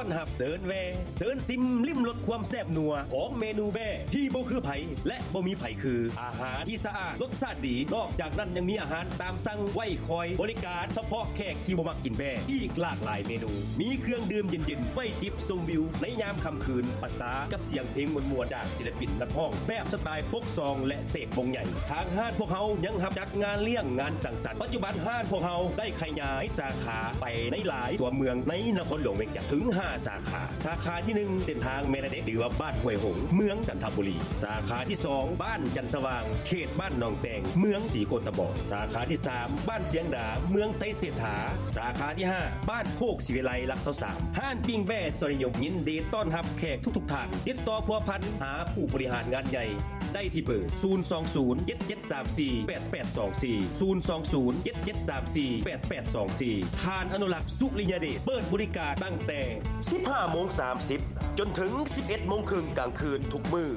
ຕ້ອນຮັບເດີນແວ່ ເຊີນຊິມລິມລົດຄວາມແຊບນົວຂອງເມນູແບ້ທີ່ບໍ່ຄືໃຜ ແລະ ບໍ່ມີໃຜຄື. ອາຫານທີ່ສະອາດ ລົດຊາດດີ ນອກຈາກນັ້ນຍັງມີອາຫານຕາມສັ່ງໄວ້ຄອຍບໍລິການສະເພາະແຂກທີ່ບໍ່ມັກກິນແບ້ ອີກຫຼາກຫຼາຍເມນູ. ມີເຄື່ອງດື່ມເຢັນໆ ໄວ້ຈິບຊົມວິວໃນຍາມຄ່ຳຄືນ ປະສານກັບສຽງເພງມ່ວນໆ ຈາກ ສິລະປິນນັກຮ້ອງແບບສະຕາຍໂຟກຊອງ ແລະ ເສກວົງໃຫຍ່. ທາງຮ້ານພວກເຮົາຍັງຮັບຈັດງານລ້ຽງ, ງານສັງສັນ. ປັດຈຸບັນຮ້ານພວກເຮົາໄດ້ຂະຫຍາຍສາຂາໄປໃນຫຼາຍຕົວເມືອງໃນນະຄອນຫຼວງວຽງຈັນ ເຖິງຫ້າສາຂາ. ສາຂາທີໜຶ່ງ ເສັ້ນທາງແມ່ນາເດັກ ຫຼືວ່າບ້ານຫ້ວຍຫົງ ເມືອງຈັນທະບູລີ. ສາຂາທີສອງ ບ້ານຈັນສະຫວ່າງ ເຂດບ້ານໜອງແຕງ ເມືອງສີໂຄດຕະບອງ. ສາຂາທີສາມ ບ້ານຊຽງດາ ເມືອງໄຊເສດຖາ. ສາຂາທີຫ້າ ບ້ານໂຄກສີວິໄລ ຫຼັກຊາວສາມ. ຮ້ານປີ້ງແບ້ຊອຍນິຍົມ ຍິນດີຕ້ອນຮັບແຂກທຸກໆທ່ານ. ຕິດຕໍ່ພົວພັນຫາຜູ້ບໍລິຫານງານໃຫຍ່ໄດ້ທີ່ເບີ ສູນສອງສູນ ເຈັດເຈັດສາມສີ່ ແປດແປດສອງສີ່ ສູນສອງສູນ ເຈັດເຈັດສາມສີ່ ແປດແປດສອງສີ່. ທ່ານອະນຸລັກ ສຸລິຍະເດດ ເປີດບໍລິການຕັ້ງແຕ່ສິບຫ້າໂມງສາມສິບ ຈົນເຖິງສິບເອັດໂມງເຄິ່ງກາງຄືນທຸກມື້.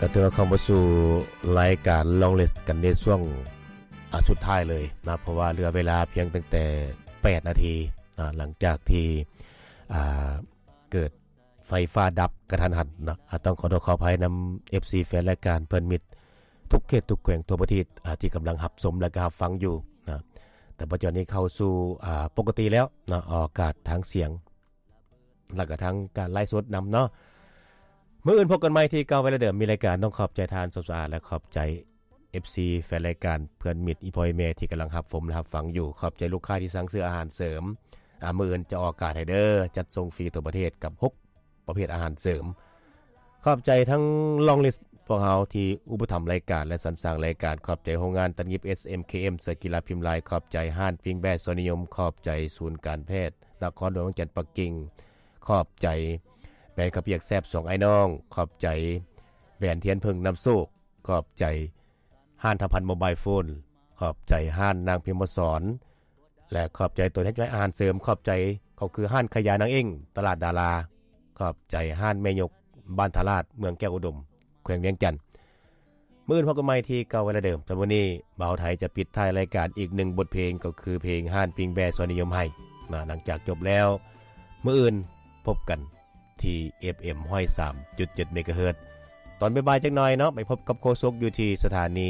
ກໍຖືວ່າເຂົ້າມາສູ່ລາຍການລອງລິດກັນໃນຊ່ວງ ອ່າ ສຸດທ້າຍເລີຍນະ ເພາະວ່າເຫຼືອເວລາພຽງຕັ້ງແຕ່ແປດນາທີນະ ຫຼັງຈາກທີ່ ອ່າ ເກີດໄຟຟ້າດັບກະທັນຫັນເນາະ. ອາ ຕ້ອງຂໍໂທດຂໍອະໄພນຳເອັຟຊີແຟນລາຍການເພື່ອນມິດທຸກເຂດທຸກແຂວງທົ່ວປະເທດ ອາ ທີ່ກຳລັງຮັບຊົມ ແລະ ກໍຮັບຟັງຢູ່ນະ. ແຕ່ປັດຈຸບັນນີ້ເຂົ້າສູ່ ອາ ປົກກະຕິແລ້ວເນາະ ອອກອາກາດທາງສຽງ ແລ້ວກໍທາງການໄລຟ໌ສົດນຳເນາະ. ມື້ອື່ນພົບກັນໃໝ່ທີ່ເກົ່າເວລາເດີມ ມີລາຍການ. ຕ້ອງຂອບໃຈທ່ານສົມສະອາດ ແລະ ຂອບໃຈ ເອັຟຊີແຟນລາຍການເພື່ອນມິດ ອີ່ພໍ່ອີ່ແມ່ທີ່ກຳລັງຮັບຊົມ ແລະ ຮັບຟັງຢູ່. ຂອບໃຈລູກຄ້າທີ່ສັ່ງຊື້ອາຫານເສີມ. ອາ ມື້ອື່ນຈະອອກອາກາດໃຫ້ເດີ ຈັດສົ່ງຟຣີທົ່ວປະເທດກັບຫົກປະເພດອາຫານເສີມ. ຂອບໃຈທັງລອງລິດພວກເຮົາທີ່ອຸປະຖຳລາຍການ ແລະ ສັນສ້າງລາຍການ. ຂອບໃຈໂຮງງານຕັດຫຍິບ ເອສເອັມເຄເອັມ ເສື້ອກິລາພິມລາຍ. ຂອບໃຈຮ້ານປີ້ງແບ້ຊອຍນິຍົມ. ຂອບໃຈສູນການແພດນະຄອນຫຼວງວຽງຈັນປັກກິ່ງ. ຂອບໃຈແບຣນເຂົ້າປຽກແຊບສອງອ້າຍນ້ອງ. ຂອບໃຈແບຣນທຽນເຜິ້ງນ້ຳໂຊກ. ຂອບໃຈຮ້ານທຳພັນໂມບາຍໂຟນ. ຂອບໃຈຮ້ານນາງພິມມະສອນ ແລະ ຂອບໃຈຕົວແທນຈຳໜ່າຍອາຫານເສີມ. ຂອບໃຈ ກໍຄືຮ້ານຂາຍຢານາງເອັ້ງ ຕະຫຼາດດາລາ. ຂອບໃຈຮ້ານແມ່ຍົກ ບ້ານທ່າລາດ ເມືອງແກ້ວອຸດົມ ແຂວງວຽງຈັນ. ມື້ອື່ນພົບກັນໃໝ່ທີ່ເກົ່າເວລາເດີມ. ສຳລັບມື້ນີ້ ບ່າວໄທຈະປິດທ້າຍລາຍການອີກໜຶ່ງບົດເພງ ກໍຄືເພງຮ້ານປີ້ງແບ້ຊອຍນິຍົມໃຫ້ນະ. ຫຼັງຈາກຈົບແລ້ວ ມື້ອື່ນພົບກັນ ທີ່ ເອັຟເອັມ ຮ້ອຍສາມຈຸດເຈັດ ເມກາເຮີດ. ຕອນບ່າຍໆຈັກໜ່ອຍເນາະ ໄປພົບກັບໂຄສົກຢູ່ທີ່ສະຖານີ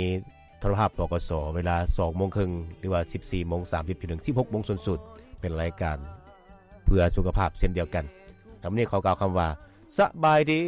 ໂທລະພາບ ປກສ ເວລາສອງໂມງເຄິ່ງ ຫຼືວ່າສິບສີ່ໂມງສາມສິບ ຈົນເຖິງສິບຫົກໂມງສູນສູນ ເປັນລາຍການເພື່ອສຸຂະພາບເຊັ່ນດຽວກັນ. ສຳລັບມື້ນີ້ຂໍກ່າວຄຳວ່າ ສະບາຍດີ.